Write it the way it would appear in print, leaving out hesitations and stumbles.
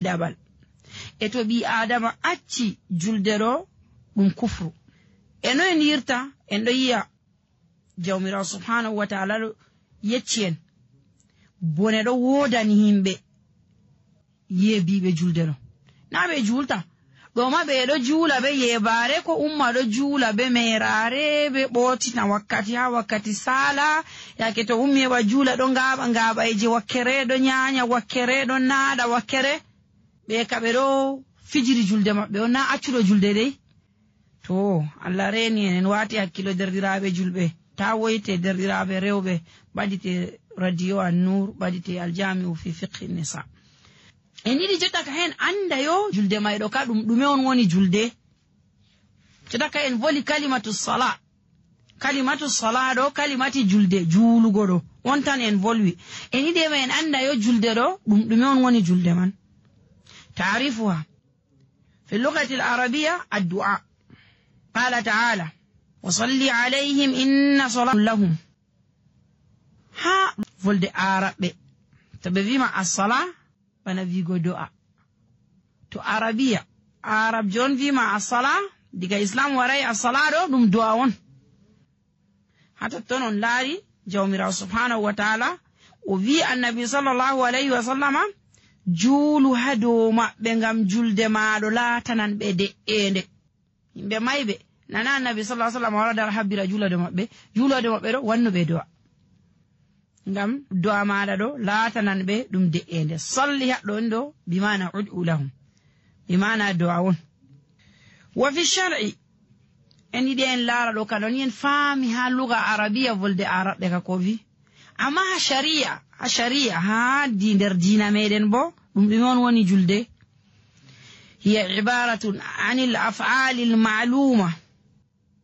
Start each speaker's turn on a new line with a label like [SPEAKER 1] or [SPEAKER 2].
[SPEAKER 1] dabal. E to ɓi adama acci julde ɗo ɗum kufru. E no en yirta en ɗo yi'a jawmirawo subhanahu wa ta'ala ɗo yecci en bone ɗo wodani himɓe yeebiɓe julde ɗo. Na ɓe julta ɗo ma ɓe ɗo juula be yebare ko umma ɗo juula be merare be ɓotina wakkati ha wakkati sala yake to ummi heɓa juula ɗo ngaɓaje wakkere ɗo nyanya wakkere ɗo naɗa wakkere ɓe kaɓe ɗo fijiri julde maɓɓe on na accuɗo julde dai. To Allah reni en wati hakkilo derɗiraɓe julɓe ta woyte derɗiraɓe rewɓe ɓadite radio an-nur ɓadite aljami'u fi fiqhi nisa. En yiɗi jotta ka hen anda yo julde mayɗo ka ɗume on woni julde. Jotta ka en voli kalimatu sala ɗo kalimati julde juulugo ɗo on tan en volwi. En yiɗi ema en anda yo julde ɗo ɗume on woni julde man. تعرفها في اللغة العربية الدعاء. قال تعالى وصلي عليهم إن صلاة لهم. ها فولد عربي تبفيما الصلاة فنفيقو دعاء. تو عربية عرب جون فيما الصلاة ديك إسلام وراي الصلاة دم دعاون. حتى تنون لاري جوميرا سبحانه وتعالى وفي النبي صلى الله عليه وسلم juulu ha dow maɓɓe ngam julde maɗo laatanan ɓe de'ende. Yimɓe mayɓe nana annabi sallallahu alaihi wasallam wara dar habbira juulade maɓɓe ɗo wannu ɓe do'a ngam do'a maɗa ɗo laatanan ɓe ɗum de'ende. Salli haɗɗo on ɗo bimana ud'u lahum bimana do'a on. Wa fi shar'i en yiɗi en laara ɗo kaɗon yen faami ha luga arabiya volde araɓɓe ka ko wi amma ha sharia ha nder diina meɗen bo ɗum ɗume on woni julde. hiya ibaratun anil af'ali al ma'luma